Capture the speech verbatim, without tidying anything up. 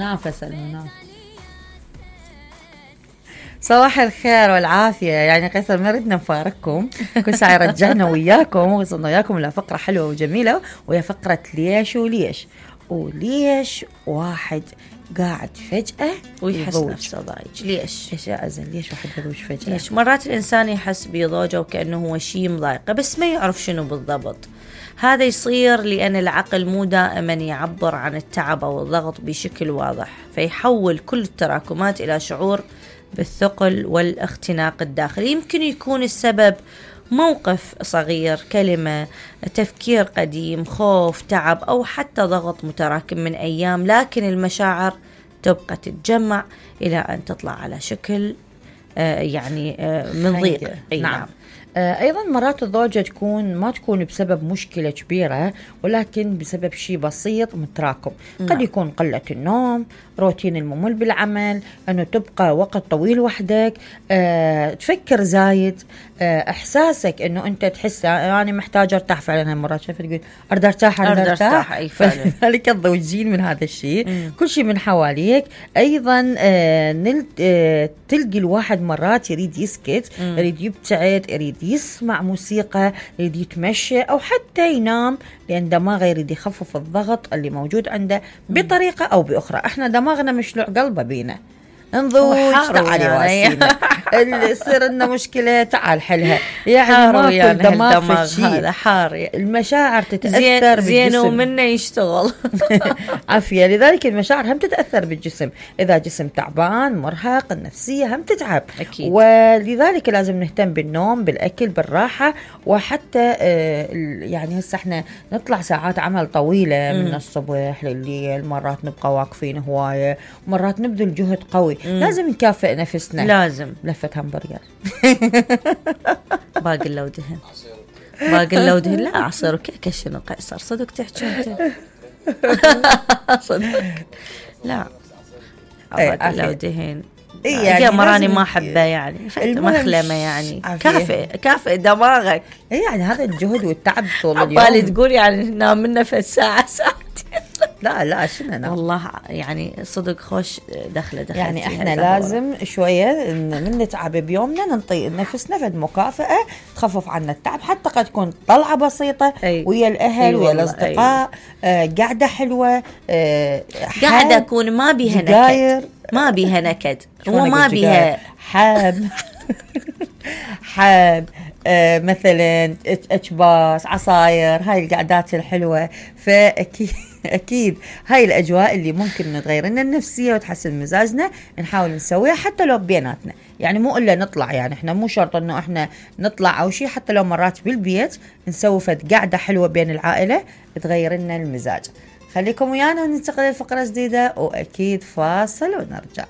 المنافسة المنافسة. صباح الخير والعافية. يعني قيصر ما ردنا نفارقكم، كل ساعة رجعنا وياكم وصلنا وياكم إلى فقرة حلوة وجميلة، وهي فقرة ليش وليش. وليش واحد قاعد فجأة ويحس نفسه ضايج؟ ليش؟ إيش يا أزل؟ ليش واحد يضوج فجأة؟ ليش مرات الإنسان يحس بضوجه وكأنه هو شيء مضايقه بس ما يعرف شنو بالضبط. هذا يصير لأن العقل مو دائما يعبر عن التعب أو الضغط بشكل واضح، فيحول كل التراكمات إلى شعور بالثقل والاختناق الداخلي. يمكن يكون السبب موقف صغير، كلمة، تفكير قديم، خوف، تعب، أو حتى ضغط متراكم من أيام، لكن المشاعر تبقى تتجمع إلى أن تطلع على شكل آه يعني آه من ضيق. نعم. أيضا مرات الضوجة تكون ما تكون بسبب مشكلة كبيرة، ولكن بسبب شيء بسيط متراكم. قد نعم. يكون قلة النوم، روتين الممل بالعمل، أنه تبقى وقت طويل وحدك، أه، تفكر زايد، أه، إحساسك أنه أنت تحس يعني محتاج أرتاح. فعلا مرات شايفة تقول أرد أرتاح أرد أرتاح، فلذلك الضوجين من هذا الشيء. مم. كل شيء من حواليك. أيضا أه نلت أه تلقي الواحد مرات يريد يسكت، مم. يريد يبتعد، يريد يسمع موسيقى، يريد يتمشى أو حتى ينام، لأن دماغه يريد يخفف الضغط اللي موجود عنده بطريقة أو بأخرى. احنا دماغنا مشلوع قلبه بينا، انضوج تعالي يعني واسينا يصير لنا مشكلة تعال حلها. يعني ما يعني كل دماغ في هذا حار. المشاعر تتأثر زين ومنه يشتغل عافية. لذلك المشاعر هم تتأثر بالجسم، إذا جسم تعبان مرهق النفسية هم تتعب أكيد. ولذلك لازم نهتم بالنوم، بالأكل، بالراحة، وحتى آه يعني هسه احنا نطلع ساعات عمل طويلة من الصبح لليل، مرات نبقى واقفين هواية، مرات نبذل جهد قوي. مم. لازم نكافئ نفسنا. لازم لفة همبرجر باقي لو دهن باقي لو دهن لا عصير وكيكة. شنو قيصر صدق تحكي انت؟ صدق لا باقي لو دهن إيه يعني يا مراني ما حبه يعني مخلمه يعني كافئ كافئ دماغك. اي يعني هذا الجهد والتعب طول اليوم. عبالي تقول يعني نام منه في الساعه ساعتين. لا لا شنو نام والله يعني صدق خوش دخله دخل يعني احنا لازم شويه من نتعب بيومنا ننطي نفسنا فد مكافاه تخفف عنا التعب، حتى قد تكون طلعه بسيطه أي. ويا الاهل ويا الاصدقاء أي. آه قاعده حلوه آه قاعده اكون ما بيها نكد ما بيها نكد وما بيها حاب حاب آه مثلا اكباس عصاير، هاي القعدات الحلوه. فاكيد اكيد هاي الاجواء اللي ممكن نتغير لنا النفسيه وتحسن مزاجنا نحاول نسويها حتى لو بيناتنا. يعني مو الا نطلع، يعني احنا مو شرط انه احنا نطلع او شيء، حتى لو مرات بالبيت نسوي فد قعده حلوه بين العائله تغير لنا المزاج. خليكم ويانا وننتقل لفقره جديده، واكيد فاصل ونرجع.